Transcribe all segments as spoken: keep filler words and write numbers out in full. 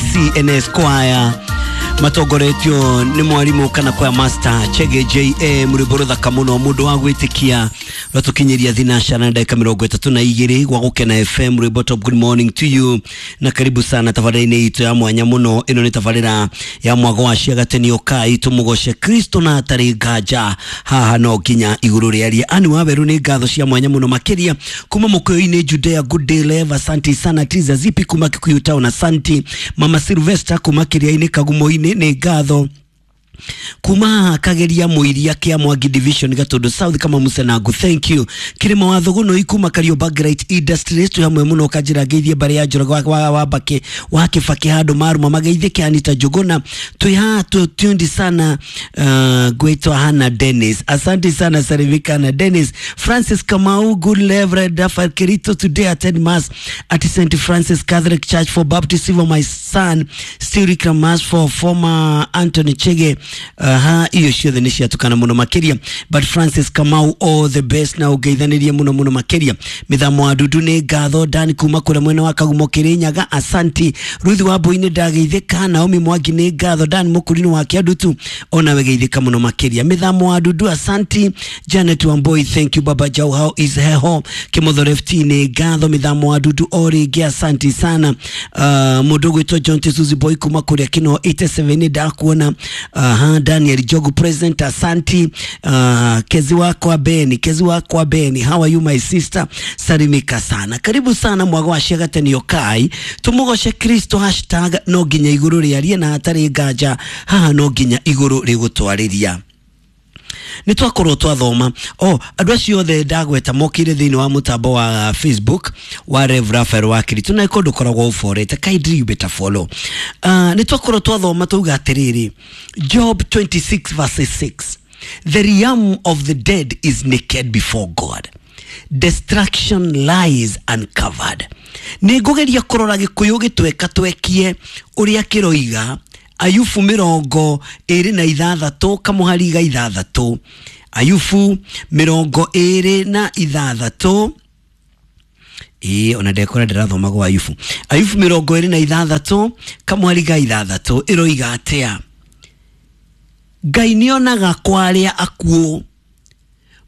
A I C N S Choir matongoretio nĩ mwarimũ kana choir master Chege J M, rwĩmbo rũthaka mũno, mũndũ wa gwĩtĩkia, rwatũkinyĩria thinacara na ndagĩka mĩrongo ĩtatũ na igĩrĩ gwa Gũkena F M, rwĩmbo top. Good morning to you na karibu sana tabarĩra-inĩ itũ ya mwanya mũno. Ĩno nĩ tabarĩra ya mwago wa ciagatenio kai tũmũgoce Kristo na hatarĩ nganja haha no nginya igũrũ rĩarie ani wa werũ. Nĩ ngatho cia mwanya mũno makĩria kuma mũkũyũ-inĩ Judea. Good day Lev, asante sana. Tiza Zipi kuma Kikuyu Town, asanti. Mama Sylvester kuma Kĩrĩa-inĩ Kagumo-inĩ, nĩ ngatho. Kuma Kageria Muiria kia Mwangi Division, Gatundu South, kama Musenangu, thank you. Kirima wa Thuguno ikuma Kariobangi Industries, twi hamwe muno. Kanjira ngeithie mbare ya Njoroge wa, wa, wa Mbaki wa Kibaki handu maruma mageithie Kianita Njuguna, twi haha tundi sana. uh, gwitwa Hana Dennis, asante sana. Sarivika na Dennis Francis Kamau, good Reverend Rafael Kirito, today attend mass at Saint Francis Catholic Church for baptism of my son Still mass for former Anthony Chege. Aha, iyo ciothe nĩ ciatukana mũno makĩria, but Francis Kamau, all the best na ũngeithanirie mũno mũno makĩria. Mĩthamo wa Dudu, nĩ ngatho. Dan kuma kũrĩa mwena wa Kagumo Kĩrĩnyaga, asanti. Ruthi wa Mbui-inĩ, ndageithĩka. Naomi Mwangi, nĩ ngatho. Dan Mũkũrinũ wa Kĩandutu, onawe geithĩka mũno makĩria. Mĩthamo wa Dudu, asanti. Janet Wamboi, thank you. Baba Jau, how is heho Kĩmotho F T, nĩ ngatho. Mĩthamo wa Dudu o rĩngĩ, asanti sana. uh, mũndũ ũgwĩtwo John Suzy Boy kuma kũrĩa Kino eighty-seven, ndakuona. Aha, Daniel Jogu present, asanti. uh, kezi wakwa Beni, kezi wakwa Beni, how are you my sister? Salimika sana, karibu sana mwago wa ciagatenio kai tumugoce Kristo hashtag no nginya igũrũ rĩarie na hatarĩ nganja haha no nginya igũrũ rĩgũtwarĩria. Nĩ twakorwo twathoma o andũ acio othe ndagweta mokire thĩinĩ wa mũtambo wa Facebook wa Rev Raphael wa Kirito, na kũndũ koragwo ũborete, kindly you better follow. uh, nĩ twakorwo twathoma tauga atĩrĩrĩ, Job twenty-six verse six, "The realm of the dead is naked before God, destruction lies uncovered." Nĩ ngũgeria kũrora Gĩkũyũ gĩtweka twekie ũrĩa kĩroiga. Ayubu mĩrongo ĩrĩ na ithathatũ kamũhari ga ithathatũ, Ayubu mĩrongo ĩrĩ na ithathatũ. Ĩĩ, ona ndekora ndĩrathoma gwa Ayubu. Ayubu mĩrongo ĩrĩ na ithathatũ kamũhari ga ithathatũ ĩroiga atĩa? Ngai nĩonaga kwa arĩa akuũ,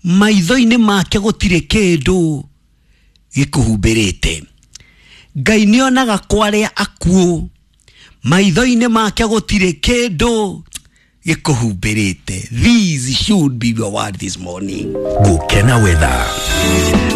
maitho-inĩ make gũtirĩ kĩndũ gĩkũhumbĩrĩte. Ngai nĩonaga kwa arĩa akuũ, maitho-inĩ make gũtirĩ kĩndũ gĩkũhumbĩrĩte. These should be your word this morning. Gukena weather.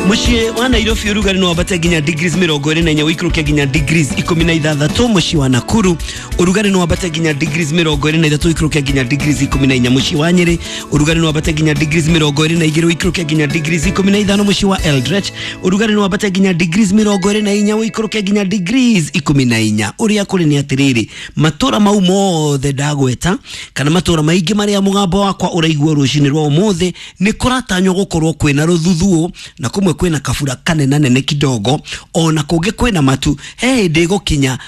Muciĩ wa Nairobi ũrugarĩ no wambate nginya degrees mĩrongo ĩrĩ na inya, ũikũrũke nginya degrees ikũmi na ithathatũ. Mũciĩ wa Nakuru ũrugarĩ no wambate nginya degrees mĩrongo ĩrĩ na ithatũ, ũikũrũke nginya degrees ikũmi na inya. Mũciĩ wa Nyĩrĩ ũrugarĩ no wambate nginya degrees mĩrongo ĩrĩ na igĩrĩ, ũikũrũke nginya degrees ikũmi na ithano. Mũciĩ wa Eldoret ũrugarĩ no wambate nginya degrees mĩrongo ĩrĩ na inya, ũikũrũke nginya degrees ikũmi na inya. Ũrĩa kũrĩ nĩ atĩrĩrĩ, matũra mau mothe ndagweta kana matũra maingĩ marĩa mũgambo wakwa ũraigua rũcinĩ rwa ũmũthĩ, nĩ kũratanywo gũkorwo kwĩna rũthuthuũ na kũmwe kwĩna kabura kanena nene kidogo, ona kũngĩ kwĩna matu. He hĩndĩ ĩgũkinya.